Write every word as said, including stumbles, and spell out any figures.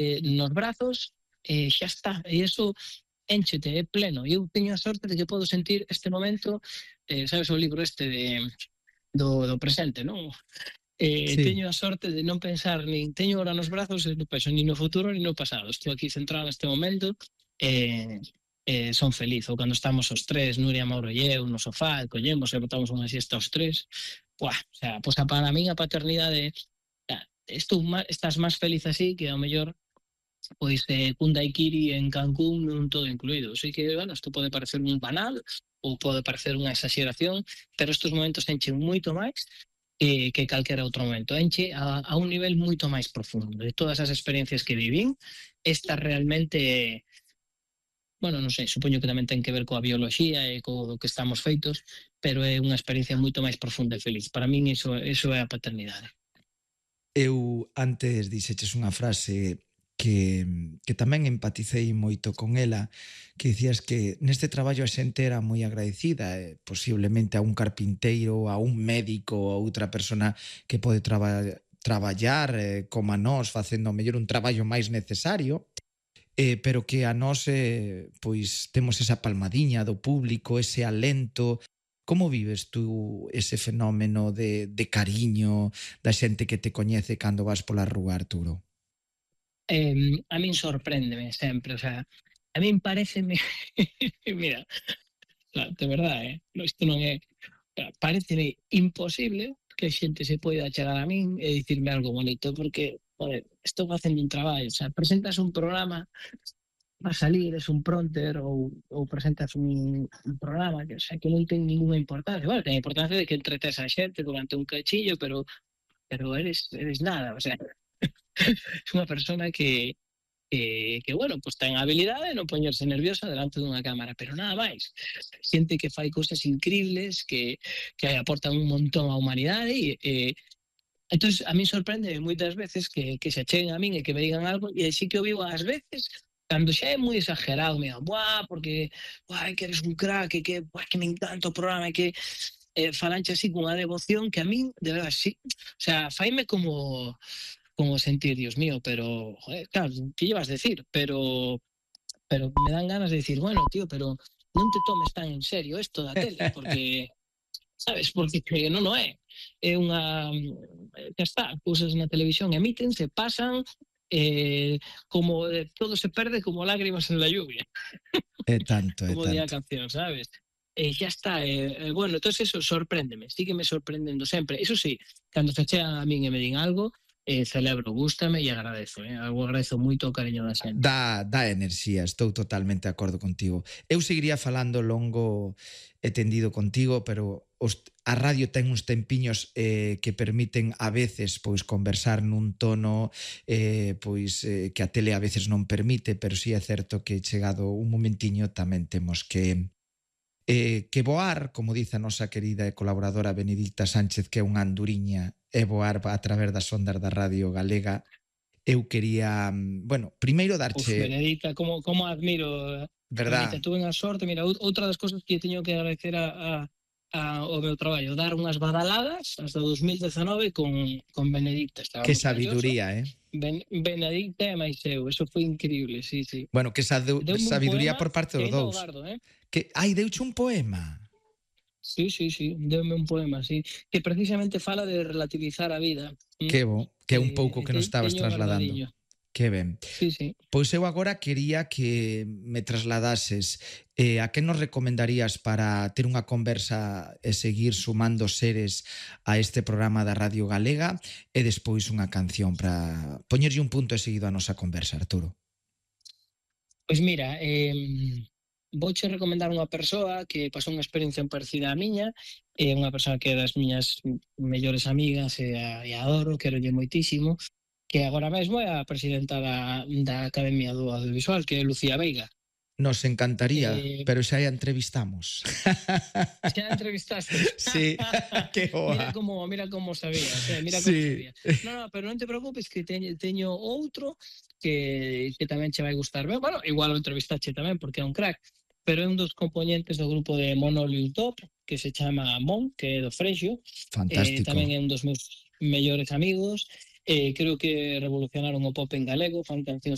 eh, nos brazos, e eh, xa está. E iso énchete, é pleno. E eu teño a sorte de que podo sentir este momento, eh, sabes o libro este de do, do presente, non? Eh, Sí. teño a sorte de non pensar nin teño ahora nos brazos e non penso nin no futuro nin no pasado. Estou aquí centrado neste momento e eh, son feliz. Ou cando estamos os tres, Nuria, Mauro e eu, no sofá, collemos e botamos unha siesta os tres. Buah, o sea, pois a para min a paternidade, ah, estou má, estás máis feliz así que ao mellor pois eh, cun daiquiri en Cancún nun todo incluído. Sei que, bueno, isto pode parecer un banal ou pode parecer unha exageración, pero estes momentos enchen moito máis que, que calquera outro momento. Enche a, a un nivel moito máis profundo. De todas as experiencias que vivín, esta realmente, bueno, non sei, supoño que tamén ten que ver coa bioloxía e co que estamos feitos, pero é unha experiencia moito máis profunda e feliz. Para min iso, iso é a paternidade. Eu antes dixeches unha frase que, que tamén empaticei moito con ela, que dicías que neste traballo a xente era moi agradecida, eh, posiblemente a un carpinteiro, a un médico, a outra persona que pode traba, traballar eh, como a nós, facendo mellor un traballo máis necesario, eh, pero que a nós eh, pois temos esa palmadiña do público, ese alento. Como vives tú ese fenómeno de, de cariño da xente que te coñece cando vas pola rúa, Arturo? Eh, a min sorpréndeme sempre, o sea, a min pareceme, mira, de verdade, eh? Isto non é, pareceme imposible que a xente se poida chegar a min e dicirme algo bonito, porque, joder, estou facendo un traballo, o sea, presentas un programa, va a salir, es un pronter ou, ou presentas un, un programa que, o sea, que non ten ninguna importancia. Bueno, ten importancia de que entretes a xente durante un cachillo, pero pero eres, eres nada, o sea, es unha persona que, que, que bueno, pues ten a habilidade de non poñerse nerviosa delante dunha cámara, pero nada máis. Xente que fai cousas increíbles, que, que aportan un montón á humanidade e, e entón, a mí sorprende moitas veces que, que se acheguen a min e que me digan algo e así que o vivo ás veces cando xa é moi exagerado, me digan, buah, porque buah, que eres un crack, que, buah, que me encanta o programa, que eh, falanche así con unha devoción que a min, de verdade, sí, o sea, faime como como sentir, Dios mío, pero, joder, claro, que llevas a decir? Pero pero me dan ganas de decir, bueno, tío, pero non te tomes tan en serio esto da tele, porque, sabes, porque que non o é. É unha, que está, cousas na televisión emítense, pasan, eh, como eh, todo se perde como lágrimas en la lluvia. É tanto, é Como di a tanto. canción, sabes? E xa está, eh, eh, bueno, entón eso sorpréndeme, sígueme sorprendendo sempre. Eso sí, cando se chegan a min e me din algo, eh, celebro, gústame e agradezo, eh? Eu agradezo moito o cariño da xente. Dá, dá enerxía, estou totalmente de acordo contigo. Eu seguiría falando longo e tendido contigo, pero os, a radio ten uns tempiños eh, que permiten a veces pois conversar nun tono eh, pois eh, que a tele a veces non permite, pero sí é certo que chegado un momentiño tamén temos que eh, que voar, como dice a nosa querida e colaboradora Benedicta Sánchez, que é unha anduriña, e voar a través das ondas da Radio Galega. Eu quería, bueno, primeiro darche... Uf, Benedicta, como, como admiro, verdad? Benedicta, tuve a sorte, mira, outra das cosas que teño que agradecer a, a, a, ao meu traballo, dar unhas badaladas hasta dos mil dezenove con, con Benedicta. Que sabiduría, eh? Ben, Benedicta e máis eu, eso foi increíble, sí, sí. Bueno, que sabiduría por parte dos dous. Gardo, eh? Que, ai, deuche un poema? Sí, sí, sí, deume un poema, sí, que precisamente fala de relativizar a vida. Que bo, que é un pouco que nos estabas trasladando. Que ben. Sí, sí. Pois eu agora quería que me trasladases eh, a que nos recomendarías para ter unha conversa e seguir sumando seres a este programa da Radio Galega e despois unha canción para poñerlle un punto e seguido a nosa conversa, Arturo. Pois mira, eh, vouche recomendar unha persoa que pasou unha experiencia parecida á miña, é unha persoa que é das miñas mellores amigas e a, e a adoro, querolle moitísimo, que agora mesmo é a presidenta da, da Academia do Audiovisual, que é Lucía Veiga. Nos encantaría, eh, pero xa a entrevistamos. Xa a entrevistaste? Sí, que boa. Mira como, mira como sabías, eh? mira como sí. sabías. No, no, pero non te preocupes que teño, teño outro que, que tamén che vai gustar. Bueno, igual o entrevistache tamén, porque é un crack, pero é un dos componentes do grupo de Monoliu Top, que se chama Mon, que é do Freixo. Fantástico. Eh, tamén é un dos meus mellores amigos. Eh, creo que revolucionaron o pop en galego, fan cancións